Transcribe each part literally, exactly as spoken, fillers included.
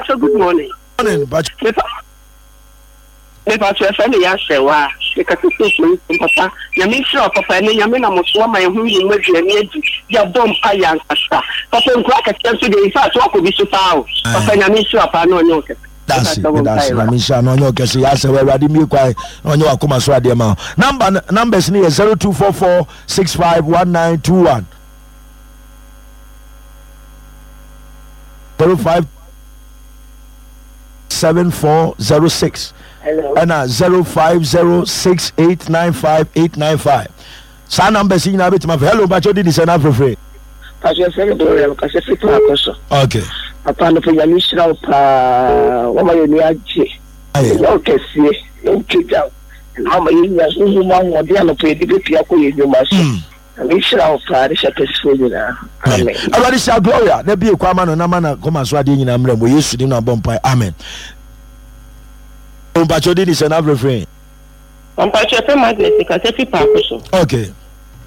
Mepacho, good morning. Morning, Pacho. Mepacho, efe me ya hwewa. Me kasa so so papa. Nyame nhyira papa ene nyame na mo so ama ye hu mu aduane adi. Ya bom pa ya nkasa. Papa nkura kɛseɛ nso de in fact wakɔ bi so paa o. Papa nyame nhyira paa na ɔnyɛ ɔkɛse. That's it. That's it. Nyame nhyira na ɔnyɛ ɔkɛse. Ya sɛ Awurade mmie kwan na ɔnyɛ wakoma so adeɛ ma wo. Number numbers no yɛ zero two four four six five one nine two one zero five seven four zero six ɛna zero five zero six eight nine five eight nine five. Saa numbers yi nyinaa bɛtumi afɛ. Hello, mpakyɛ odi di sɛ na afrɛfrɛ. Pastor fɛn mi Gloria kasa fi paako so. Okay. Papa no nyame nhyira wo paa wama yɛ ni agye. Yɛ wo kɛseɛ yɛ wo pagya wo na wama yɛ nya honhom mu ahoɔden anɔpa yɛde bɛpia kɔ yɛ nnwuma so. Nyame nhyira wo paa ne hyɛ kɛsefoɔ nyinaa. Amen. Awurade hyira Gloria na bie kwan ma no na ma na kɔma so adeɛ nyinaa mmerɛ mu wɔ Yesu dim na bɔ mpae. Amen. Mpakyɛ odi di sɛ na afrɛfrɛ. Mpakyɛ fɛ Agnes kasa fi paako so. Okay.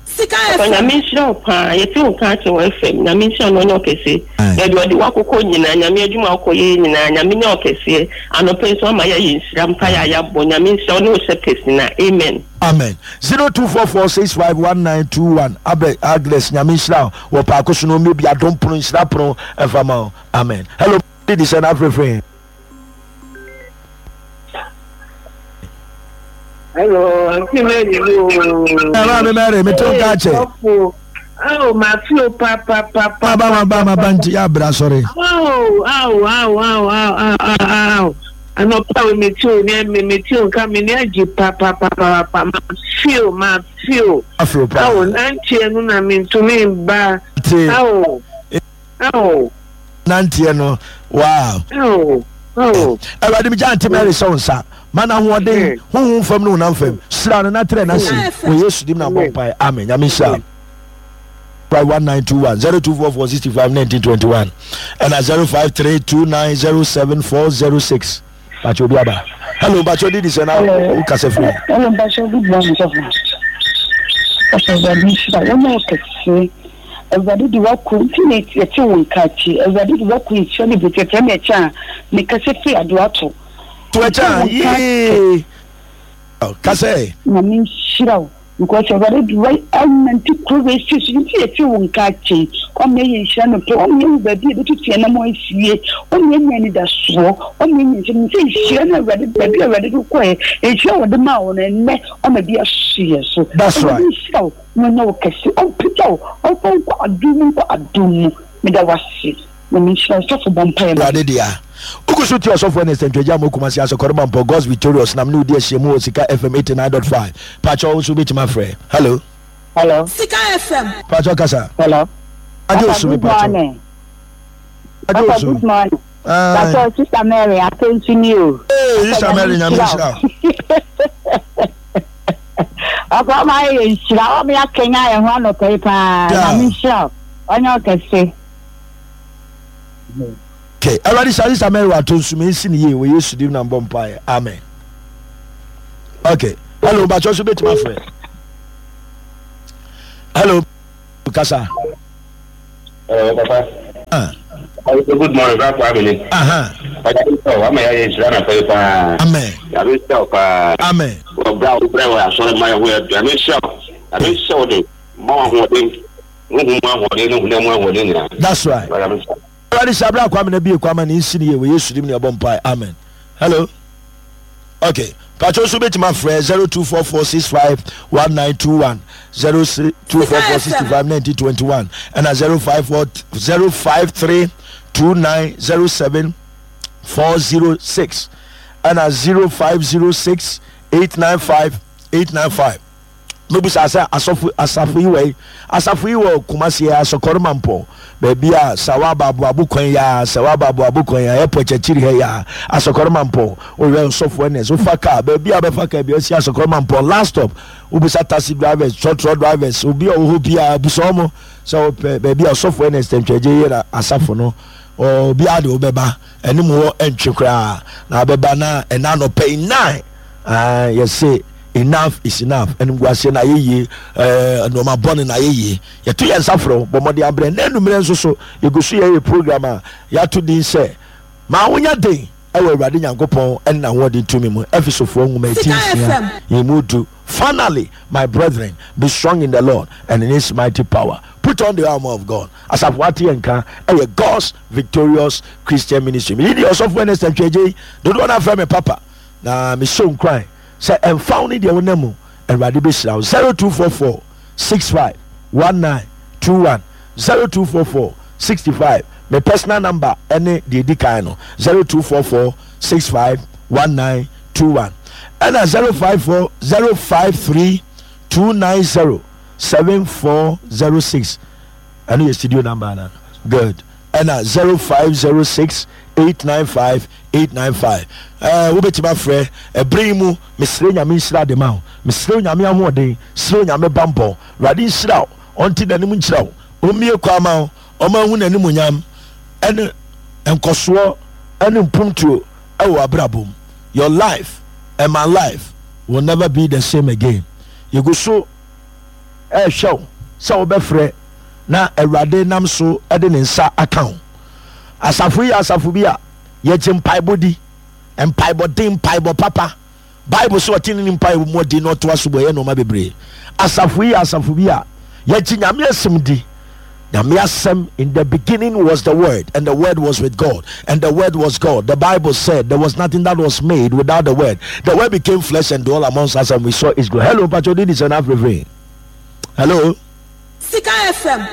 Sika Papa F M. nyame nhyira wo paa yɛte wo nka akyɛ wɔ F M nyame nhyira no ɔnyɛ ɔkɛse. Baabi ɔde wakokɔ nyinaa nyame adwuma akɔ yɛ nyinaa nyame nyɛ ɔkɛseɛ anɔpɛ nso ama yɛayɛ nhyira mpa yɛ ayɛabɔ nyame nhyira wo ne wo hyɛ pɛsi na amen. Amen. zero two four four six five one nine two one. Abɛ Agnes nyame nhyira wo wɔ paako so no mmie bi adom pono nhyira pono ɛmfa ma wo. Amen. Hello, didi sɛ na afrɛfrɛ. Hello, Auntie Mary. Hello, Auntie Mary. Me to nka che. Oh, ma fio pa pa pa pa. Ba ba ba ba ba nti ya bra sorry. Oh, oh, oh, oh, oh, oh, oh. Anɔpa we me tio ne me me tio nka me ne agye pa pa pa pa pa ma fio ma fio. Afro pa. Oh, nantie no na me ntumi ba. Oh. Oh. Nantie no. Wow. Oh. Oh. Awurade mi gya Auntie Mary sɛ wo nsa. Ma na ahoɔden honhom fam ne honam fam. Hyira no na trɛ n'ase. Wɔ Yesu dim na bɔ mpae. Amen. Nyame nhyira. one nine two one zero two four four sixty five nineteen twenty one and a zero five three two nine zero seven four zero six. Bacho obi aba. Hello, Bacho didi sɛ na wo kasa firi. Hello, Bacho, good morning, sɔfo. Sɔfo Awurade nhyira wo na ɔkɛse. Awurade de wako nti na yɛte wo nka akyi. Awurade de wako nhyira ne bɛti ɛfrɛ me ɛkyɛ a mekasa firi adoato. To ɛkyɛ a yee. Kasa ɛ. Nyame nhyira wo. Because Awurade de wa anante kuro wei si so nti yɛte wo nka akyi. Ɔma yɛ nhyira no pɛ. Ɔma yɛhu baabi a yɛbɛtutu yɛn nam asie. Ɔma yɛnya anidasoɔ. Ɔma yɛnya nhyira. Sɛ nhyira no Awurade baabi a Awurade de kɔɛ nhyira wɔde maa wo no ɛnnɛ ɔma bi aso yɛ so. That's right. Awurade nhyira wo. Na ɔnyɛ wo kɛse. Ɔmpagya wo. Ɔmfa wo nkɔ adom mu nkɔ adom mu. Meda wo ase. Na menhyira wo sɔfo bɔ mpaeɛ ma me. Awurade dea. Wogu so tie ɔsɔfo Ernest Antwi-Agya ma Kumasi Asɔkɔre Mampɔ God's Victorious nam ne wodi ahyiamu wɔ Sika F M eighty nine dot five. Pakyɛ wo nso wobɛtumi afrɛ. Hello. Hello. Sika F M. Pakyɛ kasa. Hello. Agye Papa, osu me good pakyɛ. morning. Agye Papa, osu. good morning. Aye. Pastor, Sister Mary, attention you. Hey, Sister Mary, nyame nhyira wo. Papa, ɔma ayɛ nhyira, ɔma yɛakɛnya yɛn ho anɔpa yi paa. Nyame nhyira wo. Ɔnyɛ ɔkɛse. Okay, Awurade hyira Sister Mary wato nsu me nsi ne yie wɔ Yesu dim na mbɔ mpaeɛ. Amen. Okay, hello, mpakyɛ so bɛtumi afrɛ. Hello, kasa. Hello, Papa. Ah. Good morning, Bra Kwame ni. Aha. Ɔyɛ wama yɛ nhyira na pɛyɛ paa. Amen. Nyame nhyira wo paa. Amen. Ɔbra wo brɛ wɔ asɔre ma yɛ ho yɛ nyame nhyira wo. Nyame nhyira wo de ma wo ahoɔden. Honhom mu ahoɔden ne honam mu ahoɔden nyinaa. That's right. Nyame nhyira wo. Awurade hyira Bra Kwame na bie kwama ne nsi ne yie wɔ Yesu dim ne ɛbɔ mpae. Amen. Hello. Okay. Pacho so bɛtumi afrɛ zero two four four six five one nine two one zero two four four sixty five nineteen twenty one ɛna zero five four zero five three two nine zero seven four zero six ɛna zero five zero six eight nine five eight nine five. Mebusa sɛ asɔfo asafo yi wɔ yi asafo yi wɔ Kumasi Asɔkɔre Mampɔn baabi a Sawa Abaabo kwan ya Sawa Abaabo kwan ya airport akyiri ha ya Asɔkɔre Mampɔn oyɛ nsɔfo ɛnɛ so fa kaa baabi a bɛfa kaa bi asi Asɔkɔre Mampɔn last stop wobisa taxi drivers trɔtrɔ drivers obi a ɔwɔ hɔ biara busa wɔn sɛ wɔpɛ baabi a ɔsɔfo ɛnɛ ntwɛgye yɛ na asafo no obi a de wobɛba ɛne mu hɔ ɛntwe koraa na abɛba na ɛna anɔpɛ yi nine yɛse enough is enough. Animguaseɛ na ayɛ yie, nneɛma bɔne na ayɛ yie. Yɛto yɛn nsa frɛ wo, bɔ mmɔden abrɛ. Na anummerɛ nso so, yɛgu so yɛyɛ program a yɛato din sɛ Ma wonya den ɛwɔ Awurade Nyankopɔn ɛne n'ahoɔden tumi mu. Efesofoɔ nwoma eti nsia yɛn mu du. Finally, my brethren, be strong in the Lord and in his mighty power. Put on the armor of God. Asafo ate yɛn nka ɛyɛ God's Victorious Christian Ministry. Meyi deɛ ɔsɔfo Ernest Antwi-Agyei, dodoɔ no afrɛ me Papa, na mehyɛ nkuran sɛ ɛmfa wo ne deɛ wonam mu, Awurade bɛhyira wo. zero two four four six five one nine two one zero two four four sixty five me personal number ɛne deɛ ɛdi kan no zero two four four six five one nine two one ɛna zero five four zero five three two nine zero seven four zero six ɛno yɛ studio number ana good ɛna zero five zero six eight nine five eight nine five ɛɛ wobɛtumi afrɛ ɛbere yi mu. Mesrɛ Nyame nhyira de ma wo. Mesrɛ Onyame ahoɔden, srɛ Onyame bammɔ. Awurade nhyira wo, ɔnte n'anim nkyerɛ wo, ɔmmue kwan ma wo, ɔma nhu n'animuonyam ɛne nkɔsoɔ ɛne mpuntuo ɛwɔ w'abrabɔ mu. Your life and my life will never be the same again. Yɛgu so ɛrehwɛ wo sɛ wobɛfrɛ na Awurade nam so de ne nsa aka wo. Asafo yi yɛ asafo bi a yɛgye mpaebɔ di. Mpaebɔ den, mpaebɔ papa. Bible sɛ ɔte ne mpaebɔ mu ɔden na ɔto aso bɔ ɛyɛ nneɛma bebree. Asafo yi yɛ asafo bi a yɛgye Nyame asɛm di. Nyame asɛm, in the beginning was the word, and the word was with God, and the word was God. The Bible said there was nothing that was made without the word. The word became flesh and dwelt amongst us, and we saw his glory. Hello, Pacho Didi Sena. Hello. Sika F M.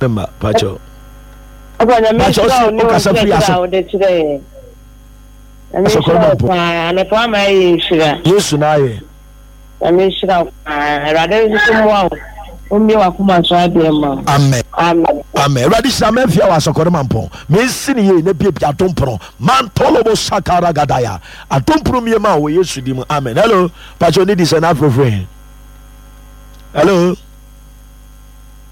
Member, Pacho. Pacho, okasa firi aso. Yesu na ayɛ. Nyame nhyira wo paa. Awurade nso mmoa wo. Ommie w'akoma so adeɛ ma wo. Amen. Amen. Amen. Awurade hyira mafia wɔ asɔkɔre mampɔn. Mensi ne yie na biabia adompono. Mantolobo sakara gadaya. Adompono mie ma wɔ Yesu di mu. Amen. Hello. Pacho ne di sɛ na afrɛfrɛ. Hello.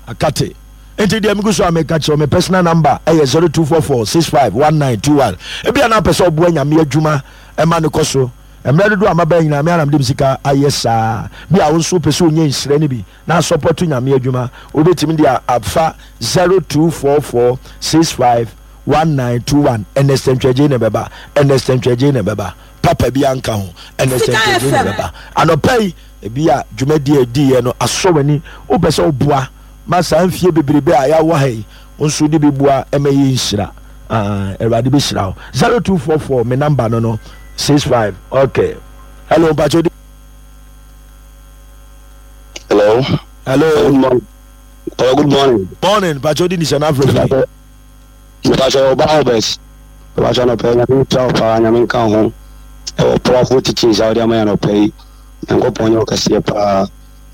Akate. Nti deɛ megu so a meka kyerɛ me personal number ɛyɛ zero two four four six five one nine two one. Ebia na apɛ sɛ ɔboa Nyame adwuma ɛma no kɔ so. Mmerɛ dodoɔ a maba nyinaa me ara na mede me sika ayɛ saa. Bi a wo nso wopɛ sɛ wonya nhyira no bi na asɔpɔto Nyame adwuma, wobɛtumi de afa zero two four four six five one nine two one. Ernest Antwi-Agyei na ɛbɛba. Ernest Antwi-Agyei na ɛbɛba. Papa bi anka ho. Ernest Antwi-Agyei na ɛbɛba. Anɔpa yi, ebi a dwumadie a ɛdiiɛ no asɔ w'ani, wopɛ sɛ woboa ma saa mfie bebrebe a yɛawɔ ha yi, wo nso wode bi boa ma ɛyɛ nhyira. Ah, Awurade bɛhyira wo. zero two four four me number no no six five. Okay. Hello, Mpacho. Hello. Hello. Good morning. Hello, good morning. Morning, Mpacho di nisana afrɛfiri. Mpacho Oba Albert. Mpacho anɔpɛ nyame nhyira wo paa, nyame nka ho. Ɛwɔ powerful teachings a wode ama yɛ anɔpɛ yi. Nyankopɔn nyɛ wo kɛseɛ paa.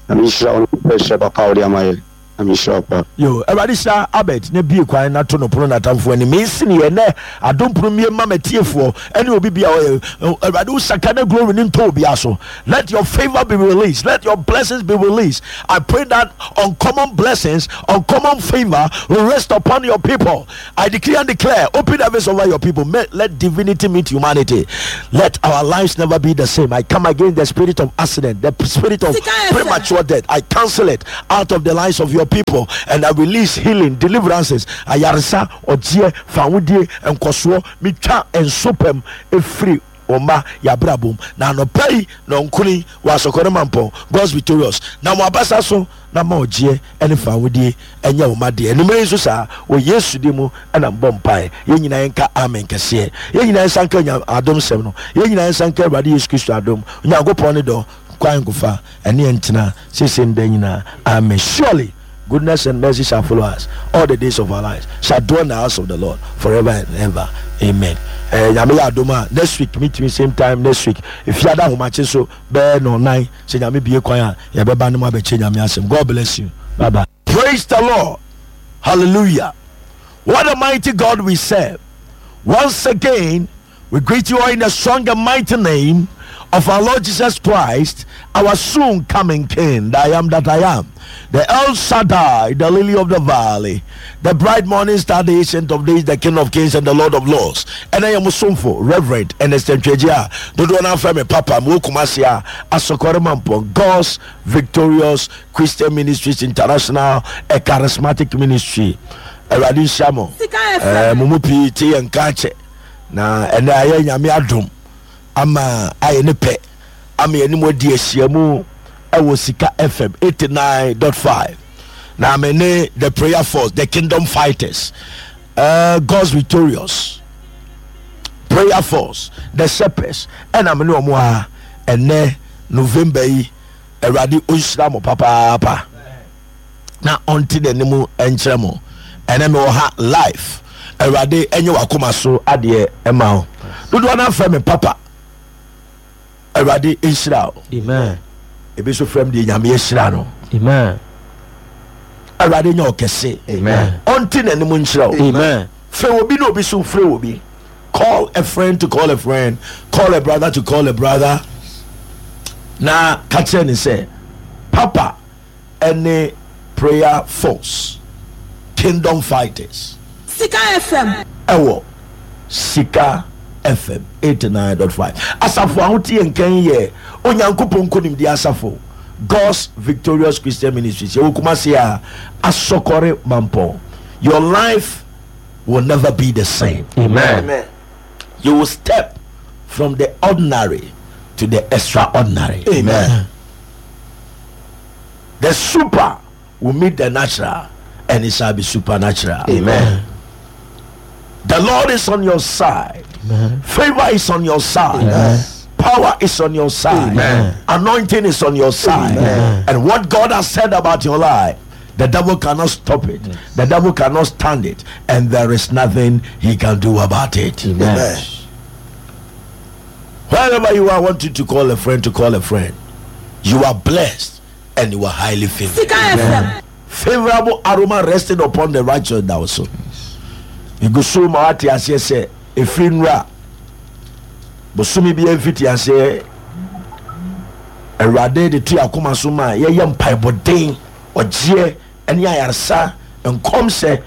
Nyame nhyira wo ne wo papa a wode ama yɛ. Nyame nhyira wo paa. Yo, Awurade hyira Albert na bue kwan na to no pono n'atamfo anim. Mensi ne yɛ nɛ adom pono mmie mma m'atiefoɔ ɛne obi bia ɔyɛ. Awurade wo saka na glory ne ntɔ obiara so. Let your favor be released. Let your blessings be released. I pray that uncommon blessings, uncommon favor will rest upon your people. I decree and declare, open heavens over your people. May, let divinity meet humanity. Let our lives never be the same. I come against the spirit of accident, the spirit of premature death. I cancel it out of the lives of your people, and I release healing, deliverances. Ayaresa, ɔgyeɛ, fawodie, nkɔsoɔ, metwa nsopam efiri ɔma yabrabom. Na anɔpa yi na ɔnkuni wɔ asɔkɔrɔ mampɔn God's victorious. Na mo abasa so na ma ɔgyeɛ ne fawodie ɛnyɛ wo ma deɛ. Anwummerɛ yi nso saa wɔ Yesu din mu ɛna mbɔ mpaeɛ. Yɛn nyinaa yɛnka amen kɛseɛ. Yɛn nyinaa yɛnsa nka nya adom sɛm no. Yɛn nyinaa yɛnsa nka Awurade Yesu Kristo adom, Onyankopɔn ne dɔ, kwan nkofa ɛne yɛn ntena seesei ne daa nyinaa. Amen. Surely goodness and mercy shall follow us all the days of our lives, shall dwell in the house of the Lord forever and ever. Amen. Eh, Nyame yɛ adom a next week meet me same time next week. Efiada ahomakye so bɛyɛ nɔnan sɛ Nyame bie kwan a yɛbɛba no mu abɛkyɛ Nyame asɛm. God bless you. Bye bye. Praise the Lord. Hallelujah. What a mighty God we serve. Once again, we greet you all in the strong and mighty name of our Lord Jesus Christ, our soon coming King, the I am that I am, the El Shaddai, the lily of the valley, the bright morning star, the ancient of days, the King of kings and the Lord of lords. And I am Musumfo, Reverend Ernest Antwi-Agyei, dodoɔ no afrɛ me Papa, mewɔ Kumasi a, Asɔkɔre Mampɔn, God's Victorious Christian Ministries International, a charismatic ministry. Awurade nhyira mo. Eh, mo mu pii te yɛn nka akyɛ na ɛnɛ ayɛ Nyame adom ama ayɛ ne pɛ ama yɛne mo adi ahyiamu ɛwɔ Sika F M eighty-nine point five. Na me ne the Prayer Force, the Kingdom Fighters, uh, God's Victorious Prayer Force, the Shepherds, ɛna me ne ɔmo a ɛnɛ November yi. Awurade ɔnhyira mo papaapa na ɔnte n'anim nkyerɛ mo. Ɛnɛ mewɔ ha live. Awurade ɛnyɛ wakoma so adeɛ ɛma wo. Dodoɔ no afrɛ me Papa. Awurade nhyira wo. Amen. Ebi nso frɛ m deɛ Nyame ahyira no. Amen. Awurade nyɛ ɔkɛse. Amen. Ɔnte n'anim nkyerɛ wo. Amen. Frɛ obi na obi so frɛ obi. Call a friend to call a friend, call a brother to call a brother, na ka kyerɛ ne sɛ Papa ɛne Prayer Force, Kingdom Fighters Sika F M. ɛwɔ Sika F M eighty-nine point five. Asafo ahoteɛ nkan yɛ Onyankopɔn Nkonimdi Asafo, God's Victorious Christian Ministries. Yɛwɔ Kumase a Asɔkɔre Mampɔn. Your life will never be the same. Amen. Amen. You will step from the ordinary to the extraordinary. Amen. The super will meet the natural and it shall be supernatural. Amen. The Lord is on your side. Amen. Favor is on your side. Amen. Power is on your side. Amen. Anointing is on your side. Amen. And what God has said about your life, the devil cannot stop it. The devil cannot stand it. And there is nothing he can do about it. Amen. Wherever you are, I want you to call a friend to call a friend. You are blessed and you are highly favored. Sika F M. Favorable aroma resting upon the righteous now so. Egu so ma wate aseɛ sɛ efiri nnura bosome bi mfiti aseɛ, Awurade de to yɛ akoma so ma yɛyɛ mpaebɔden, ɔgyeɛ ne ayaresa, nkɔmhyɛ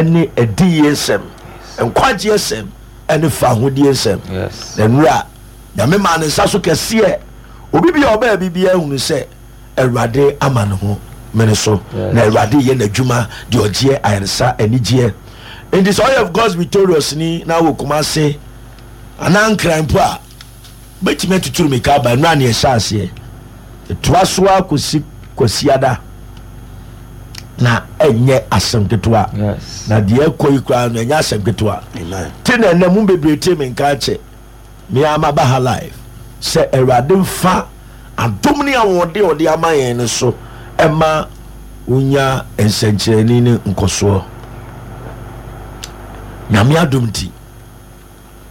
ne adiyie nsɛm, nkwagyeɛ nsɛm ne fahodie nsɛm. Yes. Na nnura Nyame maa ne nsa so kɛseɛ. Obi bi a ɔbɛɛ biribiara hunu sɛ Awurade ama ne ho mene so. Yes. Na Awurade yɛ n'adwuma deɛ ɔgyeɛ, ayaresa, anigyeɛ. Nti sɛ ɔyɛ God's Victorious ni na wɔ Kumase anaa Nkran mpo a, bɛtumi atuturu mika aba. Nnura ne ɛhyɛ aseɛ ɛtoa so a kɔsi Kwasiada na ɛnyɛ asɛm ketewa. Yes. Na deɛ ɛkɔ yi koraa no, ɛnyɛ asɛm ketewa. Amen. Te na ɛnɛ mu bebree te me nka kyɛ me ama ba ha live sɛ Awurade mfa adom ne ahoɔden a ɔde ama yɛn no so ɛma wonya nsɛnkyerɛnne ne nkɔsoɔ. Nyame adom nti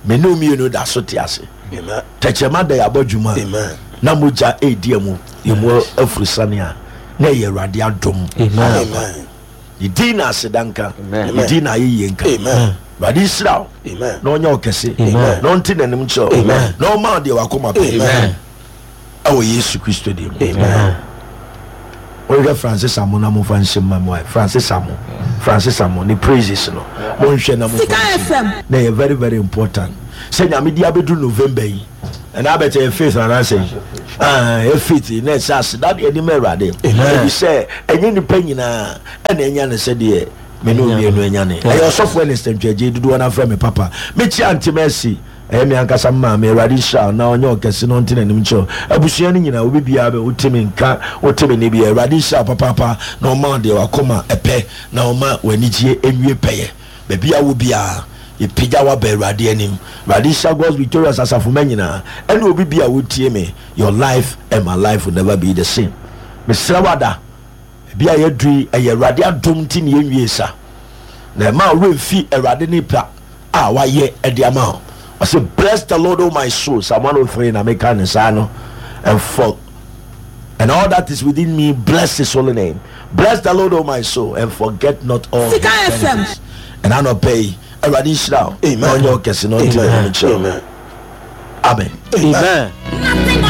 me ne wo mmienu da so te ase. Amen. Tɛkyerɛma da yɛabɔ dwuma Amen. na mogya ɛredi mu yɛmu afurusane a, na ɛyɛ Awurade adom. Amen. Amen. Ne din na aseda nka. Amen. Ne din na ayɛyie nka. Amen. Awurade nhyira wo Amen. na ɔnyɛ wo kɛse Amen. na ɔnte n'anim kyerɛ wo Amen. na ɔma wo deɛ wakoma pɛ Amen. ɛwɔ Yesu Kristo din mu. Amen. Wɔhwɛ Francis Amo na momfa nhyɛ mma mu ayɛ Francis Amo, Francis Amo ne praises no, monhwɛ na momfa Sika nhyɛ mu. F M. Na ɛyɛ very very important sɛ Nyame de abɛduru November yi, ɛna abɛkyɛ yɛ faith anaasɛ yi, ah, yɛ faith na ɛsɛ aseda deɛ de ma Awurade, ebi sɛ ɛnyɛ nipa nyinaa ɛna ɛnya ne sɛdeɛ me ne mmienu anya ne. Ɛyɛ ɔsɔfo Ernest Ntwagye, dodoɔ no afrɛ me Papa. Mekyia Ntem asi ɛyɛ me ankasa maame. Awurade nhyira wo na ɔnyɛ ɔkɛse na ɔnte n'anim kyerɛ wo. Abusua no nyinaa, obi biara bɛ wote me nka, wote me ne bia, Awurade nhyira wo papaapa na ɔma wo deɛ wakoma ɛpɛ na ɔma w'anigyeɛ ɛnwie pɛyɛ baabi a wo biara. Yɛpagya waba Awurade anim. Awurade nhyira God's Victorious asafoma nyinaa ɛne obi bia wotie me. Your life and my life will never be the same. Mesrɛ wada ebi a yɛduru yi, ɛyɛ Awurade adom nti ne yɛnwie sa na ɛma ɔwerɛ mfi Awurade ne pa a wayɛ ɛde ama wo. Ɔsɛ, "Bless the Lord, O my soul." Psalm one oh three na meka ne saa no. and for and all that is within me, bless his holy name. Bless the Lord, O my soul, and forget not all his Sika F M. benefits. And anɔpɛ yi, Awurade nhyira wo Amen. na ɔnyɛ wo kɛse na ɔnte n'anim kyerɛ wo. Amen. Amen. Amen. Nothing on